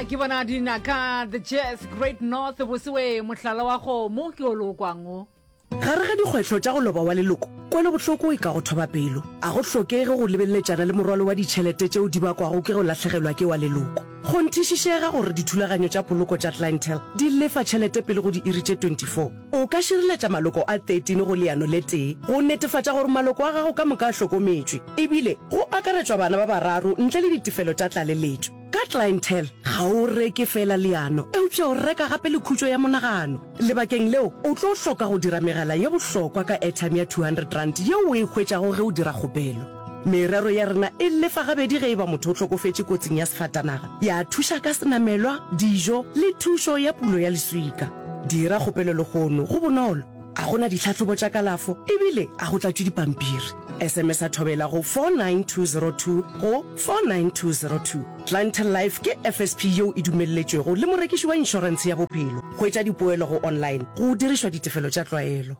Ke bona dinaka The Jazz Great North bosewe mohlala wa kgomo ke o lokwang o. Gare ga dikgwetlho tša go loba wa leloko, kwelobohloko e ka go thoba pelo. A go hlokege go lebeleletšana le morwalo wa ditšhelete tšeo di bakwago ke go lahlegelwa ke wa leloko. Kgonthišišega gore dithulaganyo tša poloko tša Clientele di lefa tšhelete pele go diiri tše 24. O ka šireletša maloko a 13 go leano le tee go netefatša gore maloko a gago ka moka a hlokometšwe, ebile go akaretšwa bana ba bararo ntle le ditefelo tša tlaleletšo. Ka Clientele, ga o reke feela leano, eupša o reka gape le khutšo ya monagano. Lebakeng leo, o tlo hloka go dira megala ye bohlokwa ka airtime ya R200 yeo o e hwetšago ge o dira kgopelo. Merero ya rena e lefa gabedi ge e ba motho o hlokofetše kotsing ya sefatanaga, ya thuša ka senamelwa, dijo le thušo ya pulo ya leswika. Dira kgopelo lehono, go bonolo, a go na ditlhahlobo tša kalafo ebile a go tlatšwe dipampiri. SMS-a Thobela go 49202 go 49202. Clientele Life ke FSP yeo e dumelletšwego le morekiši wa inšorentshe ya bophelo. Hwetša dipoelo go online go dirišwa ditefelo tša tlwaelo.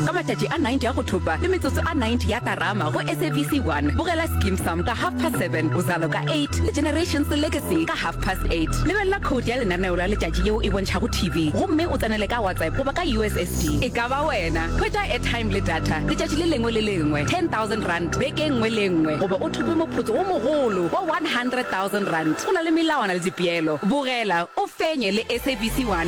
Ka matšatši a 90 a go thopa le metsotso a 90 ya karama go SABC 1, bogela Skeem Saam ka half past seven, Uzalo ka eight le Generations Legacy ka half past eight. Lebelela khoutu ya lenaneo la letšatši yeo e bontšhago TV gomme o tsenele ka WhatsApp goba ka USSD. E ka ba wena! Hwetša airtime le data letšatši le lengwe le lengwe, R10,000 beke e nngwe le e nngwe goba o thope moputso wo mogolo wa R100,000. Go na le melawana le dipeelo. Bogela, o fenye le SABC 1.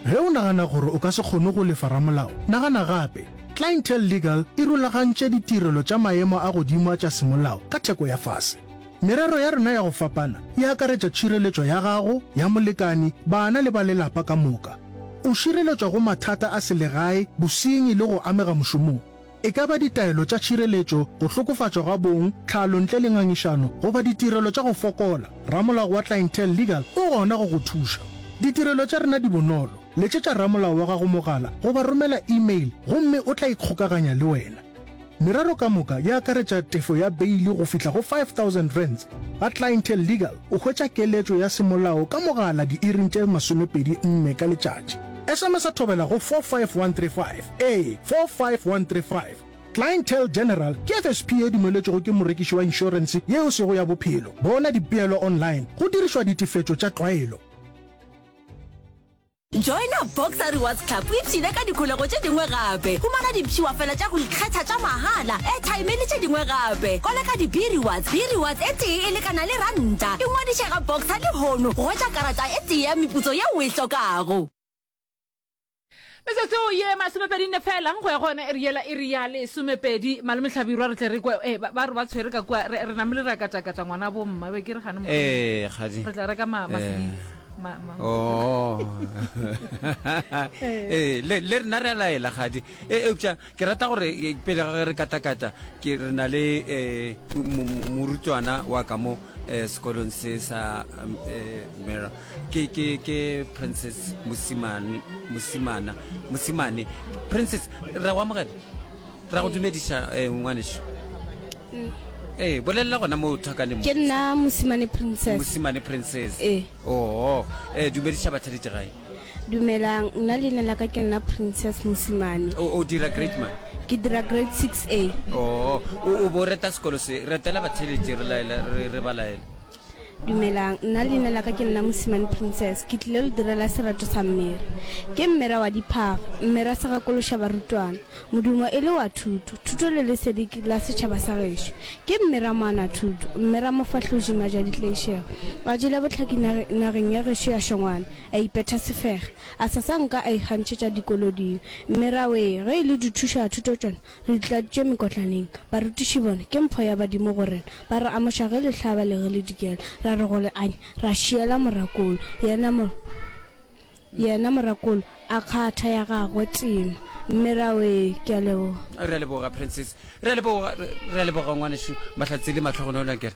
Ge o nagana gore o ka se kgone go lefa ramolao, nagana gape. Clientele Legal e rulagantše ditirelo tša maemo a godimo a tša semolao ka theko ya fase. Merero ya rena ya go fapana e akaretša tšhireletšo ya gago, ya molekane, bana le ba lelapa ka moka. O šireletšwa go mathata a selegae, bosenyi le go amega mošomong. E ka ba ditaelo tša tšhireletšo, go hlokofatšwa ga bong, tlhalo ntle le ngangišano, goba ditirelo tša go fokola, ramolao wa Clientele Legal o gona go go thuša. Ditirelo tša rena di bonolo, letšetša ramolao wa gago mogala goba romela e-mail gomme o tla ikgokaganya le wena. Merero ka moka e akaretša tefo ya beili go fihla go R5000. Ga Clientele Legal o hwetša keletšo ya semolao ka mogala diiring tše 24 ka letšatši. SMS-a Thobela go 45135. Ee, 45135. Clientele General ke FSP ye dumeletšwego ke morekiši wa inšorense ye e sego ya bophelo. Bona dipeelo online go dirišwa ditefetšo tša tlwaelo. Joina Boxer Rewards Club o ipshine ka dikholego tše dingwe gape. Humana dipshiwafela tša go ikgetha tša mahala, airtime le tše dingwe gape. Koleka di-B-Rewards. B-Rewards e tee e lekana le ranta. Ingwadiše ga Boxer lehono go hwetša karata e tee ya meputso yeo o e hlokago. Metsotso ye masomepedi nne fela go ya go yona iri yela iri ya lesomepedi. Malome Hlabirwa re tle re kwe eh, ba ba re ba tshwere ka kua re re namile ra katakata ngwana bo mma be ke re gane mohlomong Eh, kgadi. re tla reka ma ma Eh. sweets ma ma Oh. Eh, le le rena re a laela kgadi. Eh, eupša ke rata gore eh, pele ga ge re katakata ke re na le eh, mo- mo- morutwana wa ka mo eh, sekolong se sa um, eh, Mera ke ke ke Princess Mosimane Mosimana Mosimane Princess ra go amogela ra go dumediša eh, ngwanešu ee bolelela gona mo thakaneng Ke nna Mosimane Princess. Mosimane Princess Ee. oo eh dumediša batheletši gae Dumelang, nna leina la ka ke nna Princess Mosimane. O, o dira grade man? Ke dira grade 6A. Oh, o, o bo reta sekolo se, retela batheeletši re laela, re, re ba laela. Dumelang, nna leina la ka ke nna Mosimane Princess. Ke tlile lo direla sereto sa Mmera. Ke Mmera wa diphaga, Mmera segakološa barutwana. Modumo e le wa thuto, thuto le lesedi ke la setšhaba sa gešo. Ke Mmera moanathuto, Mmera mofahloši majaditlaišego. A jele bohlaki nageng ya gešo ya Šongwana. A ipetha sefega, a sa sa nka a ikgantšhetša dikoloding. Mme ra wee, ge e le dithušathuto tšona, re di tladitše mekotlaneng. Barutiši bona, ke mpho ya badimo go rena. Ba re amoša ge le hlaba le ge le dikela. Ra re go le anya, ra šiela morakolo. Yena mo, yena morakolo a kgatha ya gagwe tema. Mme ra wee, ke a leboga. Re a leboga, Princess. Re a leboga, re a leboga, ngwanešu Mahlatse le Mahlogonolo, akere?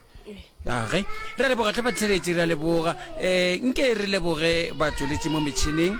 Age, re a leboga tlhe batheeletši, re a leboga. Um nke re leboge batšweletši mo metšhineng,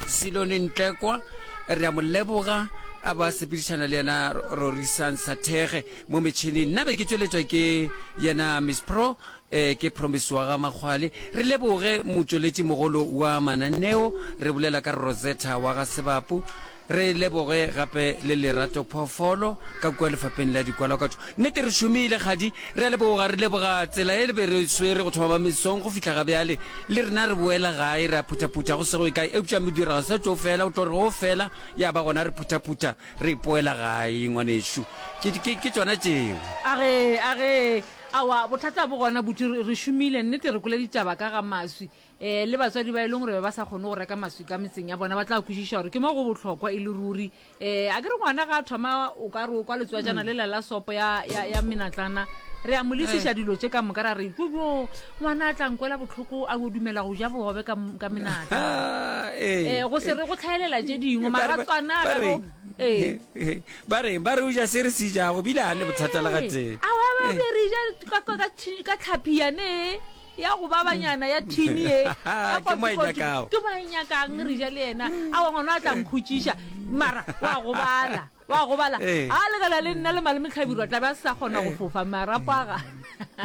Silone Ntlekwa, re a mo leboga, a ba sepedišana le yena Rorisang Sathege mo metšhineng. Nna be ke tšweletšwa ke yena Miss Pro, um ke Promise wa ga Makgwale. Re leboge motšweletši mogolo wa mananeo, re bolela ka Rosetta wa ga Sebapu. Re leboge gape le Lerato Phoofolo ka kua lefapheng la dikwalakwatšo. Nnete re šomile, kgadi. Re a leboga, re leboga tsela ye le be re swere go thoma ba mesong go fihla ga bjale. Le rena re boela gae, re a phuthaphutha go se go ye kae. Eupša modiro ga se tlo fela, o tlo re go fela ya ba gona re phuthaphutha re ipoela gae, ngwanešu. Ke, ke, ke tšona tšeo. A re, a re, Aowa, bothata bo gona, buti, re, re šomile, nnete re kwele ditaba ka ga maswi. E, le batswadi ba e leng gore be ba sa kgone go reka maswi ka metseng ya bona ba tla kwešiša gore ke mo go bohlokwa e le ruri. E, a ke re ngwana ga a thoma o ka re o kwa letswajana lela la sopo ya, ya, ya menatlana, re a mo lesiša dilo tše ka moka ra re jojo ngwana a tla nkwela bohloko a bo dumela go ja bogobe ka, ka menatla. Ee. E, go se re go tlhaelela tše dingwe Ba re- maratswana ba ge re- go ee. ba re ba re o ja se re se jago bile a ne bothata le gatee. Aowa, ba be re ja ka, ka, ka, ka tlhapi yane. Ya go babanyana ya thini ye. Ya Ke mo a e kotsi-kotsi. nyakago. Ke mo a e nyakang re ja le yena. Aowa ngwana a tla nkhutšiša. Mara wa gobala. Wa gobala. Ee. A lekana le nna le malome Hlabirwa tla be a se sa kgona go fofa marapo a ga.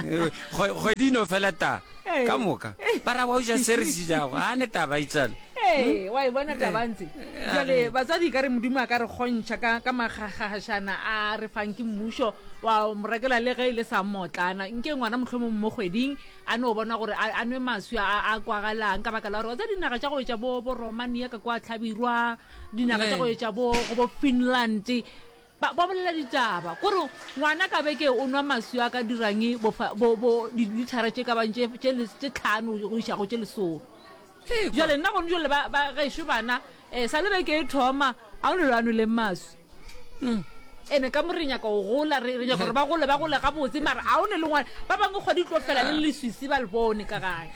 Ee, kgwe- Kgwedi e no fela ta. Ee. Ka moka. Ba ra wa o ja se re se jago. A ne taba itsale. Ee, wa e bona taba ntse. Jwale batswadi ka re Modimo a ka re kgontšha ka ka magagašana a re fang ke mmušo wa mo rekela le ge e le sa mmotlana. Nke ngwana mohlomong mo kgweding a no bona gore a, a nwe maswi a, a kwagalang ka baka la gore wa tseba dinaga tša go etša bo, bo Romania ka kwa Hlabirwa, dinaga tša go etša bo, go bo Finland, ba, ba bolela ditaba kore ngwana ka beke o nwa maswi a ka dirang bo, bo, bo dilithara tše ka bang tše, tše, tše tlhano go iša go tše lesome. Bjale nna gone jale ba, ba gešo bana um sa le beke e thoma ga o ne lo a nweleng maswi. Ene ka mo re nyaka go gola, re, re nyaka gore ba gole, ba gole gabotse, mara ga o ne le ngwana. Ba bangwe kgwedi e tlo fela le leswisi ba le bone ka gae.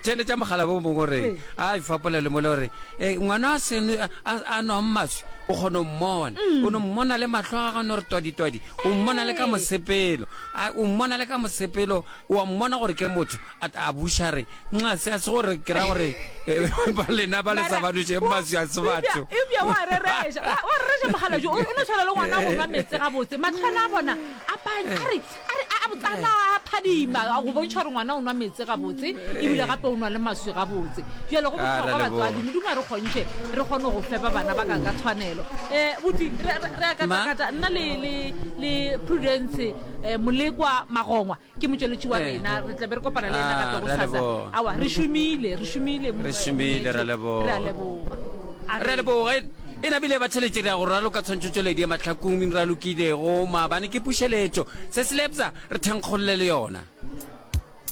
Theeletša mogala bo mongwe gore a ifapola le mole gore eh, ngwana a seno a a nwang maswi o kgona go mmona o no mmona le mahlo a gagwe no re twadi-twadi o mmona le ka mosepelo A- o mmona le ka mosepelo o a mmona gore ke motho A, a buša re, Nxa, se a se gore ke ra gore eh, ba lena ba le sa ba nošeng maswi a se batho. Eupša wa rereša, wa wa rereša mokgalabje, o o no tshwana le ngwana go nwa meetse gabotse. Mahlwana a bona a panya, a re, a re, a botsana a phadima, go bontšha gore ngwana o nwa meetse gabotse, ebile gape o nwa le maswi gabotse. Bjale go Ah, re bohlokwa a leboga. batswadi, Modimo a re kgontšhe re kgone go fepa bana ba ka ka tshwanelo. Eh, buti, re, re, re a Ma? katakata, nna le, le, le Prudence, eh, Molekwa Magongwa, Ke motšweletši wa rena, re tla be re kopana le yena gape Ah, re a gosasa. leboga. Aowa, re šomile, re šomile, Re šomile, re a leboga. Re a leboga. A Re a re. leboga. E nabile ba tšheletše re ya go raloka tshwantšhotšweledi ya mahlakong ralokilego maabane ke pušeletšo. Se se lebza re thenkgolle le yona.